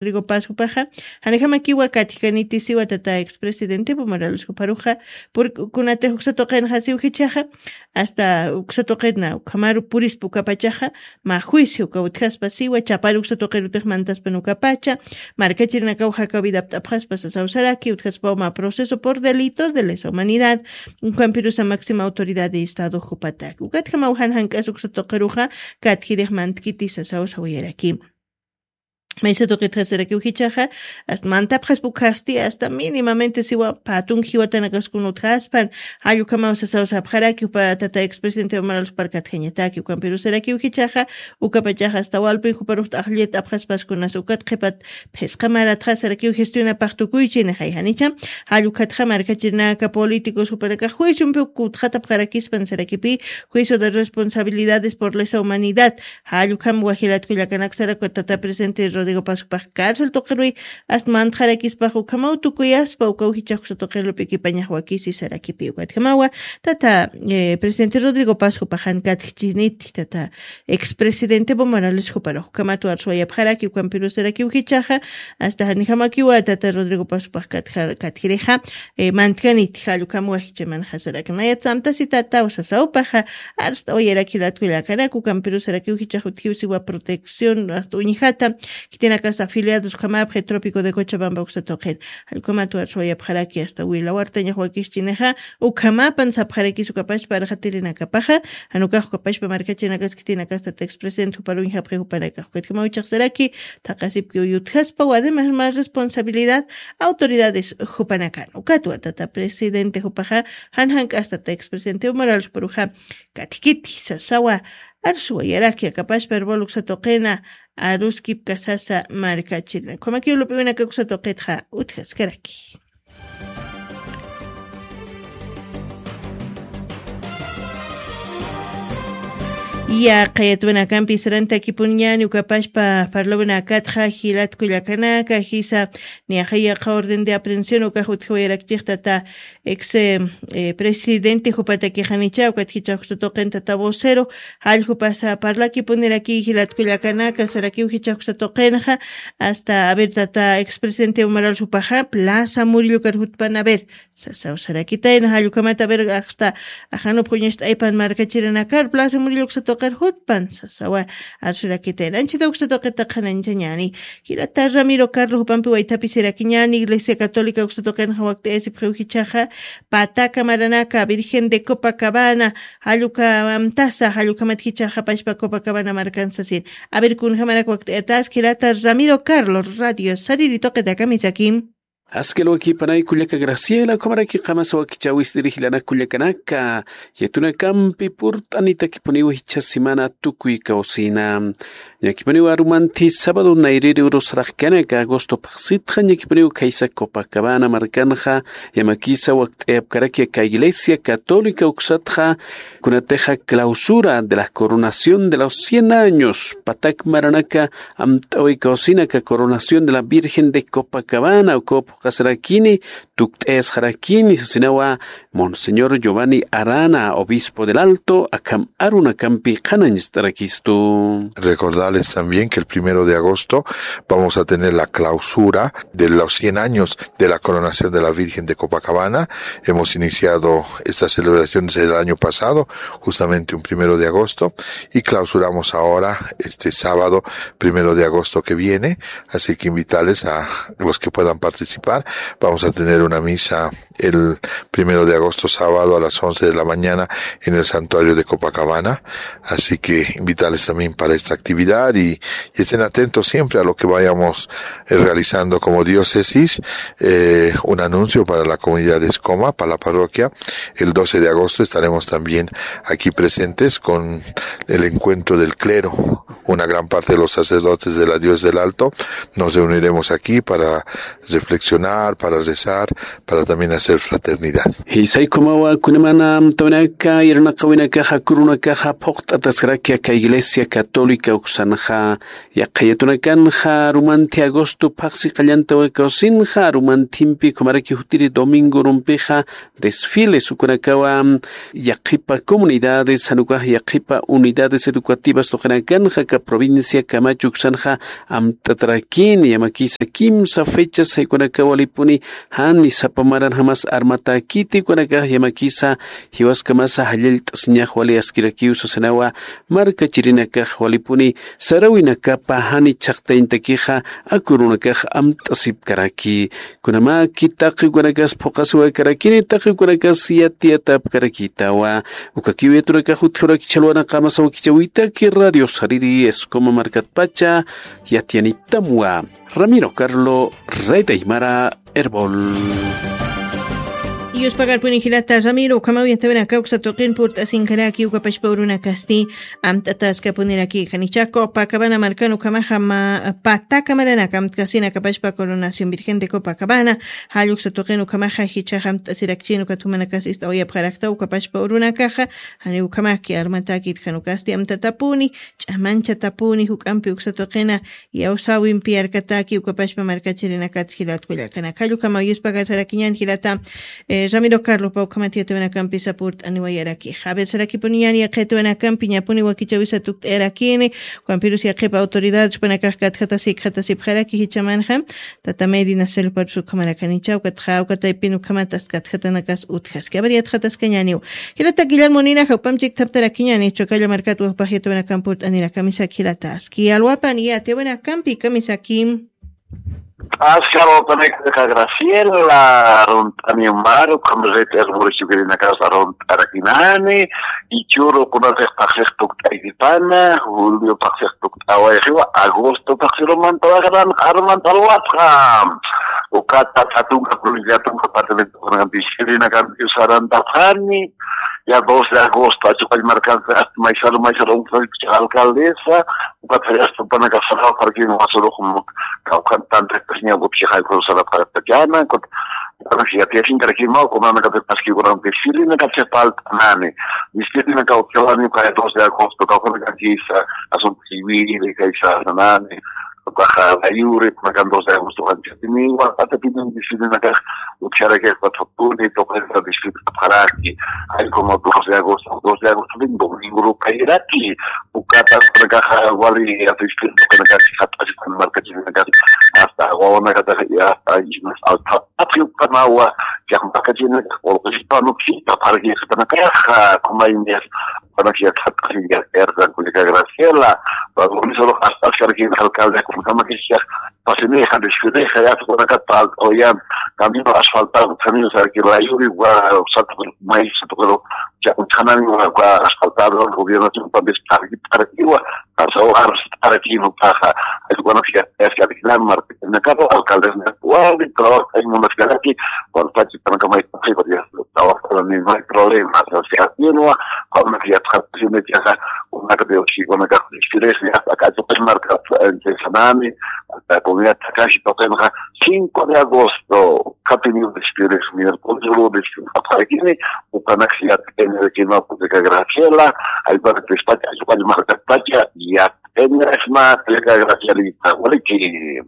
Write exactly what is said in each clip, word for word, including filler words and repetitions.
Rodrigo Paz jupaxa, janijamakiwa katjikaniti siwa tata expresidente Pumaralos juparuxa, purkunatix uksa tuqinxa siw jichaxa, hasta uksa tuqitna ukhamaru purispa ukapachaxa, mä juicio uka utjaspa siwa, chapar uksa tuqirutix mantaspan ukapacha, markachirinakaw jaka vida apt'apxaspa sasaw saraki, utjaspaw mä proceso por delitos de lesa humanidad, ukampirusa máxima autoridad de estado jupataki. Ukatjamaw jan jank'as uksa tuqiruxa, katjirix mantkiti sasaw sawayaraki. Maysa tuqitxa sarakiw jichaxa, hasta mantapxaspa ukhasti, hasta mínimamente siwa patun jiwatanakaskun utjaspan, jall ukhamaw sasaw sapxaraki, jupa tata expresidente Pumaralos parkatjañataki, ukampiru sarakiw jichaxa, ukapachaxa hasta walpin juparux t'aqllir t'apxaspaskunas, ukat qhipat phisqa maratxa sarakiw gestionapax tukuychi nixay janicha, jall ukatxa markachirinaka políticos jupanakax juiciompi uk utxatapxarakispan sarakipi, juicio de responsabilidades por lesa humanidad, jall ukham wajilat kullakanak saraku tata presidente Rodrigo Paz jupax cárcel tuqiruy, hasta mantxarakispax ukhamaw tukuyaspa, ukaw jichax uksa tuqir lup'ikipañax wakisi sarakipi. Ukatjamawa, tata, eh, presidente Rodrigo Paz jupaxan katjichiniti, tata expresidente Evo Morales juparux ukhamat warsuwayapxaraki, ukampiru sarakiw jichaxa, hasta janijamakiwa, tata Rodrigo Paz jupax katja-, katjirixa, eh, mantkaniti, jall ukham wajichamanxa sarak. Nayat samtasitataw sasawpaxa, arst'awayarak jilat kullakanak, ukampiru sarakiw jichax utjiw siwa protección, hasta uñjata, khitinakas afiliados ukhamapxi Trópico de Cochabamba uksa tuqin. Jall ukhamat warsuwayapxaraki hasta Wila Wartañax wakischinixa, ukhamapan sapxarakis ukapachpa arxatirinakapaxa, jan ukax ukapachpa markachirinakas khitinakas tata expresidente juparuñjapxi jupanakax. Ukatjamaw jichax saraki, thaqasipkiw yutjaspaw, además más responsabilidad autoridades jupanakan. Ukatwa tata presidente jupaxa, jan jank'as tata expresidente Evo Morales juparuxa, katjikiti sasawa, arsuwayaraki akapachpa Erbol uksa tuqina, aruskipkasasa markachirina. Ukhamakiw lup'iwinaka uksa tuqitxa utjaskaraki. Yaqha yatwinakampi sarantakipuniñäni ukapachpa parlawinakatxa jilat kullakanaka, jisa niyaxa yaqha orden de aprehensión ukax utjawayarakchix tata ex, eh, eh, presidente jupatakixanicha, ukat jichax uksa tuqin tata vocero, jall jupasa parlakipuniraki jilat kullakanaka, sarakiw jichax uksa tuqinxa, hasta, a ver, tata expresidente Evo Morales jupaxa, Plaza Murillo ukar jutpan, a ver, sasaw sarakitayna, jall ukhamat, a ver, hasta, ajanupx uñacht'aypan markachirinakar, Plaza Murillo uksa tuqir jutpan, sasawa, arsurakitayna. Anchita uksa tuqita qhananchañäni. Jilata Ramiro Carlos jupampi waythapisirakiñäni, Iglesia Católica uksa tuqinxa wakt'ayasipxiw jichaxa, Pataca maranaka, Virgen de Copacabana, jall uka amtasa, jall ukhamat jichaxa pachpa Copacabana markan sasin. A ver, kunjamarak wakt'ayatas, jilata Ramiro Carlos, radio sariri tuqitaka misakim. Askil wakipanay kullaka Graciela, ukhamaraki qamasa wakichäwistiri jilanak kullakanaka, yatwinakampi purt'anitakipuniw jichha semana tukuy kawsina. Ñakipuniw arumanthi sábado nayrïri urus saraqkanak agosto phaxsitxa, ñakipuniw khaysa Copacabana markanxa, yamakisa wakt'ayapkaraki aka Iglesia Católica uksatxa, kunatixa clausura de la coronación de los cien años, Pataca maranaka amt'awi kawsina aka coronación de la Virgen de Copacabana, ukaw phuqhasarakini, tukt'ayasxarakini, sasinawa Monseñor Giovanni Arana, obispo del Alto, akham arunakampi qhanañcht'arakistu. Recordarles también que el primero de agosto vamos a tener la clausura de los cien años de la coronación de la Virgen de Copacabana. Hemos iniciado estas celebraciones el año pasado, justamente un primero de agosto, y clausuramos ahora este sábado, primero de agosto que viene. Así que invitarles a los que puedan participar. Vamos a tener una misa el primero de agosto, sábado, a las once de la mañana en el santuario de Copacabana. Así que invitarles también para esta actividad y, y estén atentos siempre a lo que vayamos, eh, realizando como diócesis. Eh, un anuncio para la comunidad de Escoma, para la parroquia. El doce de agosto estaremos también aquí presentes con el encuentro del clero. Una gran parte de los sacerdotes de la Dios del Alto nos reuniremos aquí para reflexionar, para rezar, para también hacer fraternidad. Jisay ukhamawa, kunamana amtawinaka, irnaqawinakaxa, kurunakaxa phuqt'ataskaraki aka Iglesia Católica uksan Nxa yaqha yatunakanxa arumanthi agosto phaxsi qallantawakawasinxa arumanthimpi ukhamaraki jutiri domingo urumpixa desfiles ukunakawa yaqhipa comunidades jan ukax yaqhipa unidades educativas tuqinakanxa aka provincia Camacho uksanxa amt'atarakini yamakisa kimsa fechas jaykunakaw walipuni jani sapa maranjamas armatäkiti ukunakax yamakisa jiwaskamasa jallallt'asiñax wali askirakiw sasinawa markachirinakax walipuni saräwinakapa jani chhaqtañtakixa aka urunakax amt'asipkaraki. Kunamaki taqi ukanakas phuqasiwaykarakini taqi ukanakas yatiyatapkarakitawa. Ukakiw yatunakax utjuraki chhalwana qamasa wakichäwitaki radio sariri escoma markatpacha yatiyanitamwa. Ramiro Carlo, Red Aymara, Erbol. Yuspagarpuni jilata Ramiro, ukhamaw yatiyawinaka uksa tuqin purt'asinkaraki ukapachpa urunakasti amt'ataskapuniraki janicha Copacabana markan ukhamaxa ma pataka maranaka amtkasinakapachpa Coronación Virgen de Copacabana, jall uksa tuqin ukhamaxa jichhax amt'asirakchin ukat jumanakas ist'awayapxarakta ukapachpa urunakaxa, jani ukhamaki armatäkit jan ukasti amtatapuni, ch'amanchatapuni juk'ampi uksa tuqina, yawsäwimpi yarkatäki ukapachpa markachirinakats jilat kullakanaka. Jall ukhamaw yuspagar sarakiñän jilata, eh, Ramiro Carlos, pä ukhamat yatiyawinakampisa purt'aniwayarakixa. A ver, sarakipuniñäni yaqha yatiyawinakampi ñapuni wakichäwisa tukt'ayarakini, ukhampirus yaqhipa autoridades jupanakax katjatasi ikxatasipxaraki jichhamanxa, tata Medi Nacer Lupar ukhamaraki janicha, ukatxa, uka taypin ukhamat ast katjatanakas utjaski. A ver, yatxataskañäniw. Jilata Guillermo Nina, jawpam chikthaptarakiñäni, Chocalla markat wawpax yatiyawinakamp purt'anira, kamisaki jilata, aski alwapan yatiyawinakampi, kamisaki. Aski alwapanaka Graciela, arunt'ani maru, ukham red Erbol chukirinakas arunt'arakinani, jichhüru kunasix phaxsix tukt'aykipana, julio phaxsix tukt'awayxiwa, agosto phaxsiru mantawayxanan, arumantalwapxam. Ukata, katunka, provincia tunka, departamento, kunakam, distrito, kunakam, sarantapxani, ya dos de agosto, Achuqall markansa, hasta maysaru, maysaru, un alcaldesa, ukat hasta panaka sarapxarkin, wasurux, kawkhan tanta, ña, upchixay, sarapxarkachana, ukat, ukat, ya, ya, sin, karakin, mau, como, naka, te, paski, ukat, desfile, naka, se, falta, nani, desfile, naka, ukat, kay, dos de agosto, kawkhan, kisa, asunto civil, kaysa, nani, Ukaxa layuri, kunakan dos de agosto, ancha timiwa, pata pinan disfile nakax, ucharaki, cuatro tuni, toqaxa disfile kapxaraki. Ay, como dos de agosto, dos de agosto, bin domingo, kayiraki. Ukata, kunakaxa, wali, ya disfile, kunakax, hasta, hasta, markachirinakas, hasta, wawanakata, ya, hasta, ismas, alta, apio, kanawa, ya, markachirinakas, olqispa, no, sí, taparaki, kunakaxa, como ay, mes, Panaki yatxat'asi, ya, Erdan, kullaka Graciela, wa, wa, solo hasta, hasta, alcalde, kunakama, que sea, pasinixa, desfilixa, ya, kunaka, tal, oyan, camino asfaltado, camino, o sea, que la lluvia, wa, salto, maíz, pero, ya, un canal, wa, wa, asfaltado, el gobierno, tiene un papel, para, para, que, wa, pasó, a, para, que, no, paja, es bueno, que, es que, al final, Martín, me acabo, alcalde, me, wa, mi trabajo, hay una ciudad aquí, cuando está aquí, para, que, me, ay, porque, ya, trabajo, no hay problema, o sea, si, así, no, Kunanaka yatxatasiñaxa, kunanaka Dioschi, kunanaka Dioschi, hasta acá, yo, pues, marca, eh, sanani, hasta comunidad Takashi, toqenxa, cinco de agosto, Katini, Dioschi, miércoles, lunes, hasta aquí, ukanak, ya, en el que no, pues, de Graciela, ahí para que está, yo, pues, marca, pacha, ya, en el esma, de Gracielita, waliki.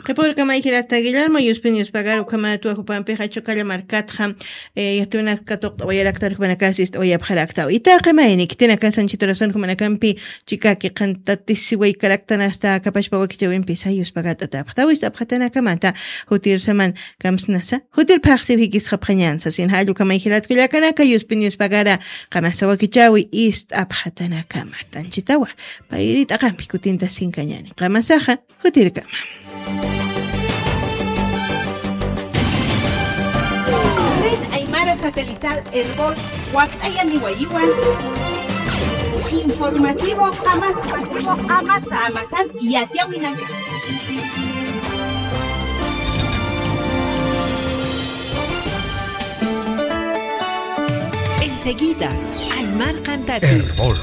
Qhipürkama jilata Guillermo, yuspin yuspagar ukhamat wajupampixa Chocalla markatxa, eh, yatiyawinaka tuqt'awayarakta, jumanakasa ist'awayapxarakta. Itaqi mayni, khitinakasa anchhita horasan jumanakampi chikaki qhantatisiwaykaraktan hasta kapachpa wakichäwimpisa yuspagart'atäpxta, ist'apxatanakamata, jutir saman kamsnasa, jutir phaxsiw jikisxapxañansa, sin jall ukhamay jilat kullakanaka, yuspin yuspagara, qamasa wakichäwi ist'apxatanakamat. Anchhitawa, payri t'aqampi kutintasinkañäni. Qamasaxa, jutirkama. Red Aymara Satelital Erbol, wakt'ayaniwayiwan. Informativo Qamasa. Qamasan yatiyawinaka. Enseguida, Aymar Cantati. Erbol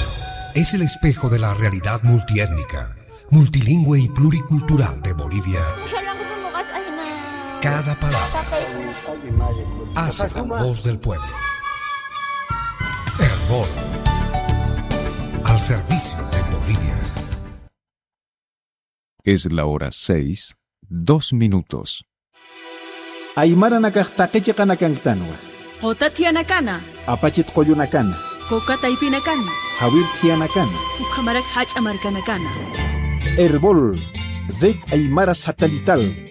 es el espejo de la realidad multiétnica, multilingüe y pluricultural de Bolivia. Cada palabra hace la voz del pueblo. Erbol, al servicio de Bolivia. Es la hora seis, dos minutos. Aymaranakax taqi chiqanakanktanwa. Quta thiyanakana. Apachit qullunakana. Coca taypinakana. Jawir thiyanakana. Ukhamarak jach'a markanakana. Erbol, Red Aymara Satelital.